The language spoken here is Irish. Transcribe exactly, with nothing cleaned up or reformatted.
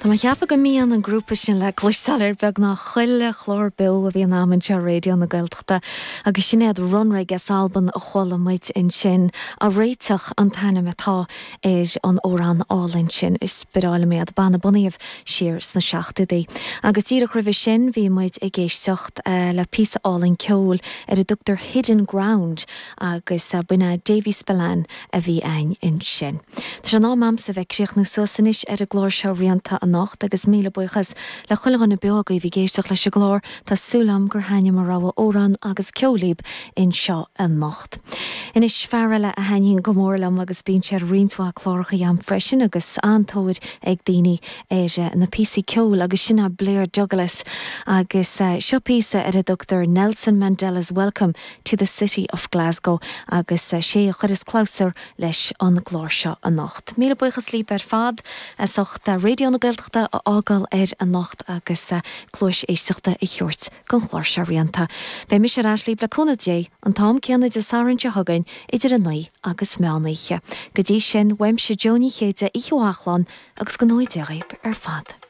Tá mé ag ceapadh go mbíonn an grúpa sin le cloisteáil ar beagnach chuile chlár beo a bhíonn agam anseo ar Raidió na Gaeltachta agus sin iad Runrig as Albain a chuala muid ansin a réiteach an t-ainm atá ar an amhrán álainn sin is breá liom iad banna bunaithe siar sna seachtóidí. Agus díreach roimhe sin bhí muid ag éisteacht uh, le píosa álainn ceoil ar a dtugtar Hidden Ground agus uh, b'in é Davy Spillane a bhí ann ansin. Tá sé in am a'msa bheith ag críochnú suas anois ar an gclár seo rianta anocht agus míle buíochas le chuile dhuine beo agaibh ag éisteacht leis an gclár tá súil agam gur thaitin mo rogha amhrán agus ceoil libh anseo anocht. Anois fear eile a thaitníonn go mór liom agus bíonn sé ar roinnt mhaith cláracha agam freisin agus an-tóir ag daoine ar eh, na píosaí ceoil agus sin é Blair Douglas agus uh, seo píosa ar a dtugtar Nelson Mandela's Welcome to the City of Glasgow agus uh, sé a chuireas clabhsúr leis an gclár seo anocht. Míle buíochas libh ar fad as ucht Raidió na Gaeltachta a fhágáil air anocht agus uh, cluas éisteachta a thabhairt don chlár seo rianta. Beidh mise ar ais libh le cúnamh Dé an t-am céanna Dé Sathairn seo chugainn idir a naoi agus meán oíche. Go dtí sin uaimse Joni Chéide ihe achlán agus go nóidéigh ar fad.